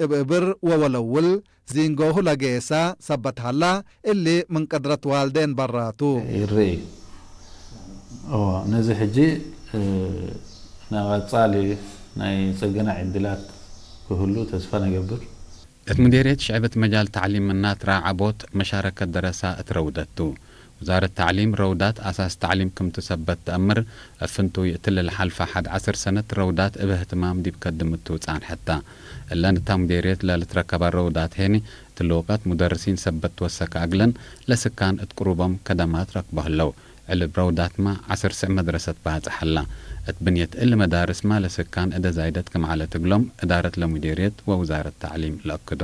እብእብር ወወለውል ዚንጎሁ ለጌሳ ሰበት ሀላ፣ እሊ ምን ቅድረት ዋልዴን በራቱ። ይርኢ። እዎ፣ ነዚ ሕጂ፣ እ፣ ናብ ቀጻሊ ናይ ጽገና ዕድላት ክህሉ ተስፋ ነገብር። እት ሙዴርየት ሽዕብት መጃል ተዕሊም እናትራ ዓቦት መሻረከት ደረሳ እት ረውደቱ። ውዛረት ተዕሊም ረውዳት ኣሳስ ተዕሊም ክምቱ ሰበት ተአምር፣ እፍንቱ ይእትልል ሓልፋ ሓድ ዓስር ሰነት ረውዳት እብ እህትማም ዲብ ከድምቱ ጻንሐታ። እለን እታ ሙዴርየት ለልትረከባ ረውዳት ሄኒ፣ ትልውቀት ሙደርሲን ሰበት ወሰከ አግለን ለስካን እት ቅሩቦም ከደማት ረክቦ ህለው። ዕልብ ረውዳትማ ዓስር ስዕ መድረሰት ባጽሐላ። እት ብንየት እል መዳርስማ ለስካን እደ ዛይደት ክምዓለት እግሎም እዳረት ለሙዴርየት ወውዛረት ተዕሊም ለአክዶ።